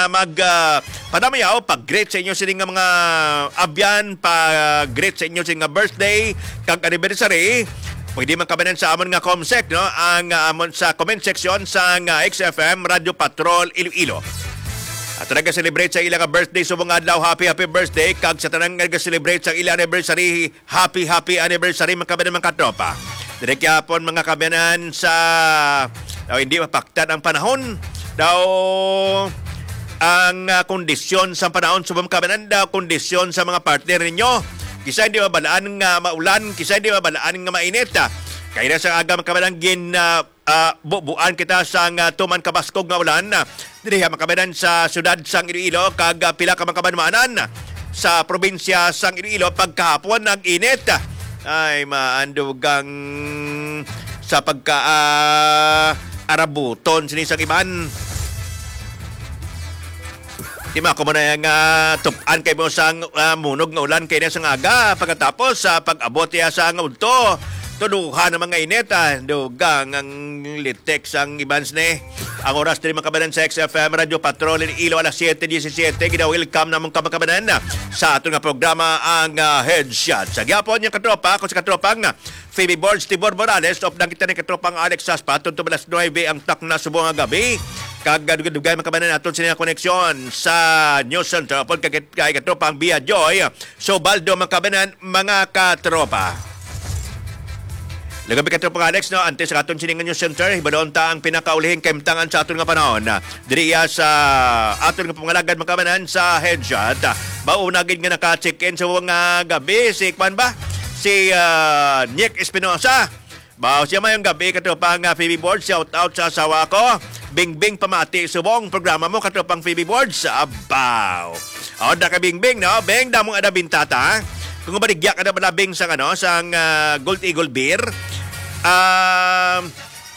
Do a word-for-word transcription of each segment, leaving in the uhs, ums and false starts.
mag, ah, padamayaw, pag-greet sa inyo sini nga mga abyan, pag-greet sa inyo sini nga birthday kag anniversary, pwede man kami sa amon nga comsec, no? Ang, ah, amon sa comment section sa nga X F M Radio Patrol Iloilo. At nag-celebrate sa ila nga birthday subong adlaw, happy, happy birthday. Kag sa tanan nga nag-celebrate sa ila anniversary, happy, happy anniversary, mga kabanan, mga katropa. Diri gyapon, mga kabanan, sa, daw hindi mapaktan ang panahon. Daw ang, ah, kondisyon sa panahon, subong, mga kabanan, daw kondisyon sa mga partner ninyo. Kisa hindi mabalaan nga maulan, kisa hindi mabalaan nga mainit. Kaya na sa aga, mga kabanan, gin, ah, ah, bubuan kita sang, ah, tuman kabaskog nga ulan, ah, diri ha, mga kabanan, sa siyudad sang Iloilo kag, ah, pila ka mga kabanwanan sa probinsya sang Iloilo pagkahapon. Ang init, ay maandugang sa pagka, ah, arabuton sini sang iban. Di ba, kamo na nga tup-an kay mo sang, ah, munog nga ulan kay na sang aga, pagkatapos sa pag-abot iya sa nga udto, tuduhan ang mga init, ah, dugang ang litik sang ibans ni. Ang oras diri, mga kabanan, sa X F M Radio Patrol in Ilo, alas siete diecisiete. Gina-welcome namon ka, mga kabanan, sa aton nga programa, ang, ah, Headshot. Sa gyapon, yung katropa, ako sa katropang Phoebe Borge, Tibor Morales, updan kita ni katropang Alex Saspa, tungtod alas nuebe ang takna subong nga gabi. Kag dugay-dugay, mga kabanan, naton sini nga koneksyon sa News Center. Upod kay, kay katropang Bia Joy, so Baldo, mga kabanan, mga katropa. Lagabi, katropang Alex, no, antes sa aton sini nga News Center, hibalon ta ang pinakaulihing kahimtangan sa aton nga panahon. Diri iya sa aton nga pangalagad, mga kabanan, sa Headshot. Mauna gid nga naka-check-in sa mga gabi, si kwan ba? Si, ah, Nick Espinosa. Bao siya, mayong gabi, katropang, ah, Phoebe Borge. Shout out sa asawa ko. Bingbing, pamati subong programa mo, katropang Phoebe Borge. Abaw. O, da ka, Bingbing, no? Beng, damong ada bintata, ha? Kung maligya ka na pala, Bing, sang, ano, sang, ah, Gold Eagle Beer, ah,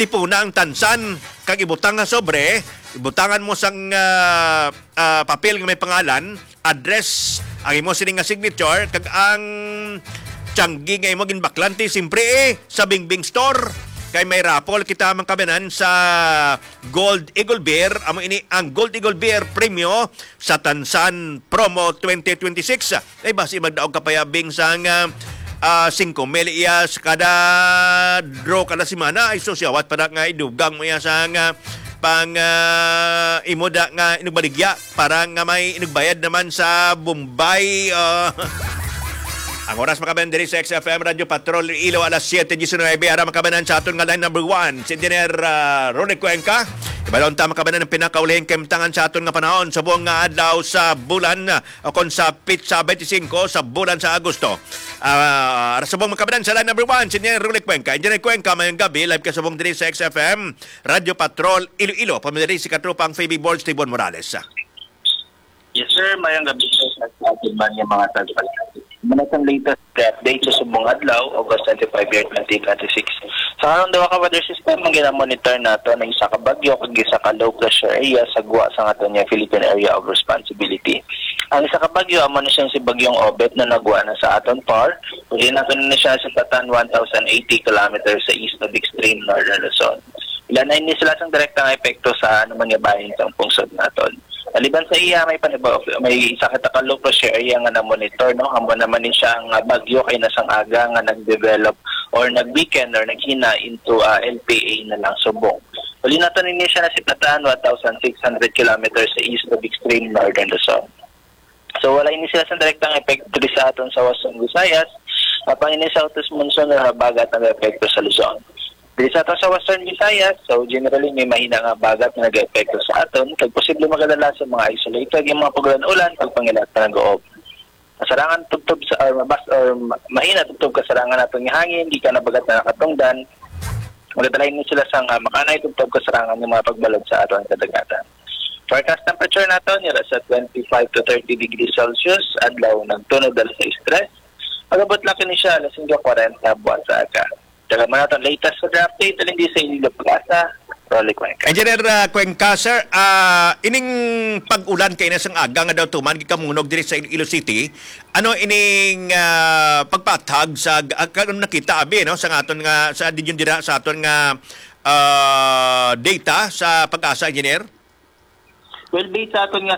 tipuna ang tansan, kag ibutang nga sobre, ibutangan mo sang, ah, ah, papel nga may pangalan, address, ang imo sini nga signature, kag ang tiyanggi nga imo ginbaklante, simpre, eh, sa Bingbing Store. Kay may raffle kita, mga kabanan, sa Gold Eagle Beer. Amo ini ang Gold Eagle Beer Premyo sa Tansan Promo twenty twenty-six. Ay, basi magdaog ka pa ya, Bing, sang, ah, ah, singko mil iya sa kada draw kada semana. Ay, sus, yawat pa na nga idugang mo iya sang, ah, pang, ah, imo da nga inugbaligya para nga may inugbayad naman sa Bombay, ah. Ang oras, mga kabanan, diri sa X F M Radio Patrol Ilo, alas siete diecinuebe. Ara, mga kabanan, sa aton nga line number one, si Engineer, ah, Ronnie Cuenca. Ibalon ta, mga kabanan, ang pinakaulihing kahimtangan sa aton nga panahon subong nga adlaw sa bulan, ah, o kon sa pitsa twenty-five sa bulan sa Agosto. Ah, ara subong, mga kabanan, sa line number one, si Engineer Ronnie Cuenca. Engineer Cuenca, mayong gabi, live ka subong diri sa X F M Radio Patrol Iloilo. Pamidiri si katropang Phoebe Borge, Tibon Morales. Yes, sir. Mayong gabi, sir, sa ating man yung mga tagpal. Muna sa latest update sa subong adlaw, August twenty-five, year twenty twenty-six. Sa karon, duha ka weather system ang ginamonitor nato, ang isa ka bagyo kag isa ka low pressure area sa gwa sa aton nga Philippine Area of Responsibility. Ang isa ka bagyo, amo na siya si Bagyong Obet na nagwa na sa aton par. Uli nato na siya sa patan one thousand eighty kilometers sa east of extreme northern Luzon. Wala na ini sila sang direktang epekto sa ano man nga bahin sa pungsod naton. Maliban sa iya, may panibaw, may isa ka low pressure area nga na-monitor, no? Amo naman ni siya nga bagyo kay nasang aga nga nag-develop or nag-weaken or naghina into, ah, L P A na lang subong. Uli nato nini siya na sipatan one thousand six hundred kilometers sa east of extreme northern Luzon. So, wala ini sila sa direktang epekto diri sa aton sa Western Visayas. Apang ini sa Southeast monsoon or habagat nag-epekto sa Luzon. Diri sa aton sa Western Visayas, so generally may mahina nga habagat nga nag-epekto sa aton, kag posible magadala sa mga isolated nga mga pag-ulan-ulan, pagpangilat nga nag-uob. Kasarangan tubtob sa, or mabas-, or ma-, mahina tubtob kasarangan naton nga hangin, gikan habagat nga nakatungdan. Magadala ini sila sa nga makanay tubtob kasarangan nga mga pagbalod sa aton kadagatan. Forecast temperature naton nira sa twenty-five to thirty degrees Celsius, adlaw nagtunod alas sais tres. Mag-abot lang kini siya alas singko kwarenta buwan sa aga. Taga man naton latest weather update, alin di sa inyo pag-asa, Rolly Cuenca. Engineer, ah, Cuenca, sir, ah, ining pag-ulan kay nasang aga nga daw tuman gikamunog diri sa Iloilo City, ano ining, ah, pagpatag sa, ah, kanang nakita abi, no, sa aton nga, sa dinyon dira sa aton nga, ah, data sa PAGASA, Engineer? Well, based sa aton nga